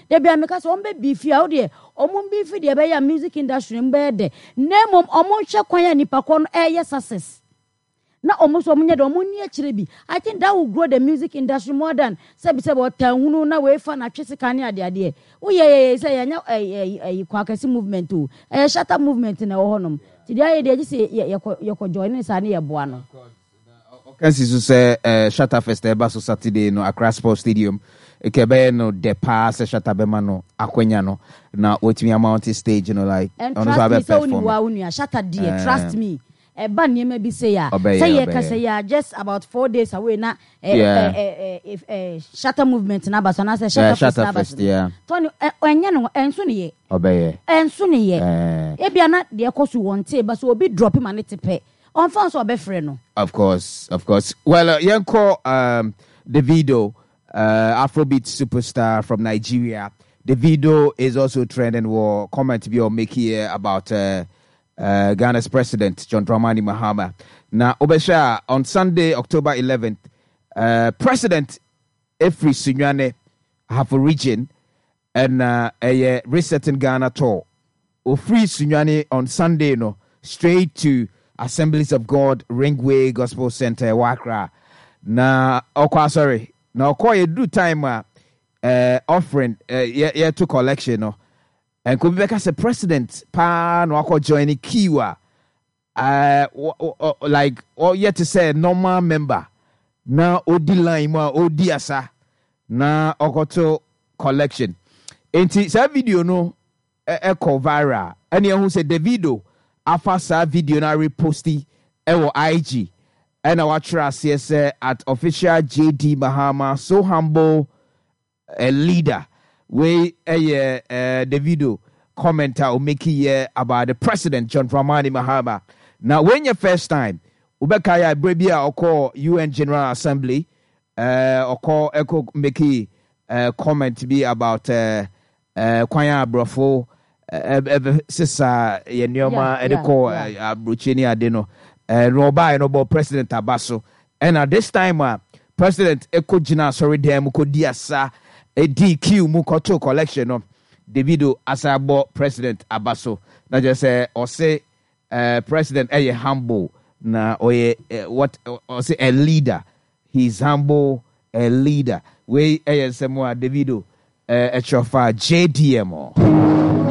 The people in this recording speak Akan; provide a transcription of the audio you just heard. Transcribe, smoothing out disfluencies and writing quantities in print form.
Da biara meka sɛ wɔn bɛ beefi a, wo deɛ wɔn beefi deɛ ɛbɛyɛ a music industry no mu bɛyɛ dɛ. Na mmom wɔn nhwɛ kwan a nipa korɔ no ɛreyɛ success. Na wɔn nso wɔn nyɛ dɛ wɔn nni akyire bi. I think that will grow the music industry more than sɛbi sɛbi ɔtan hunu na wei fa na twe sika ne adeɛ adeɛ. Wo yɛ yɛ yɛ sɛ yɛnyɛ ɛyi ɛyi Kwakɛse movement o. Ɛyɛ Shatta movement na ɛwɔ hɔ nom. Nti deɛ ayɛ deɛ gye sɛ yɛ yɛkɔ yɛkɔ join ne saa ne yɛ boa no. Ɔka si so sɛ Shatta Fest a ɛba so Saturday no Accra Sports Stadium, nka ɛbɛyɛ no dɛ paa sɛ Shatta bɛma no akwanya no na watumi amounte stage no like And ɔno nso trust me abɛ sɛ wonim perform. woa wo nua Shatta deɛ trust me ɛba nneɛma bi sei a Ɔbɛyɛ sɛ yɛka ɔbɛyɛ. sɛ yɛ just about 4 days away na eh, Yeah. eh, eh, eh, eh, Shatta movement no aba so anaasɛ Yeah, Shatta Fest no Shatta aba so Fest no yeah. Tony ɛnyɛ no ɛnso ne yɛ Ɔbɛyɛ. ɛnso ne yɛ Eh. ebia na deɛ ɛkɔ so wɔn tee ba so obi drop ma ne te pɛ ɔnfa ho sɛ ɔbɛfrɛ no. Of course, of course. Well, yɛnkɔ Davido, Afrobeat superstar from Nigeria. Davido is also trending wɔ comment bi a ɔmake here about Ghana's president John Dramani Mahama. Na wobɛhwɛ a on Sunday, October 11th, president efiri Sunyani, Ahafo region, ɛna ɛyɛ Resetting Ghana tour. Ofiri Sunyani on Sunday no straight to Assemblies of God Ringway Gospel Centre ɛwɔ Accra. Na ɔkɔ asɔre. Na ɔkɔ yɛduru time a offering yɛto collection no, nka obi bɛka sɛ president paa na wakɔ join queue a like ɔyɛ te sɛ normal member na ɔdi line mu a ɔdi asa na ɔkɔto collection. Nti saa video no ɛkɔ viral, ɛne ɛho sɛ Davido afa saa video no areposti ɛwɔ IG, ɛna watwerɛ aseɛ sɛ @officialJDMahama, so humble a leader. Wei ɛyɛ Davido comment a ɔmeki yɛ about the president John Dramani Mahama. Na wei nyɛ first time. Wobɛkae a berɛ bi a ɔkɔɔ UN General Assembly, ɔkɔ ɛkɔ meki comment bi about kwan a aborɔfo ɛbɛsesa yɛ nneɛma ɛde kɔ aburokyi ne ade no. Na ɔbaeɛ no ɔbɔ president aba so. Ɛna this time a president ɛkɔ gyina asɔredan mu kɔdi asa, ɛdi queue mu kɔto collection no, Davido asa abɔ president aba so. Na kyerɛ sɛ ɔse president ɛyɛ humble na ɔyɛ what ɔse a leader. He is humble, a leader. Wei ɛyɛ nsɛm a Davido ɛkyerɛ fa JDM.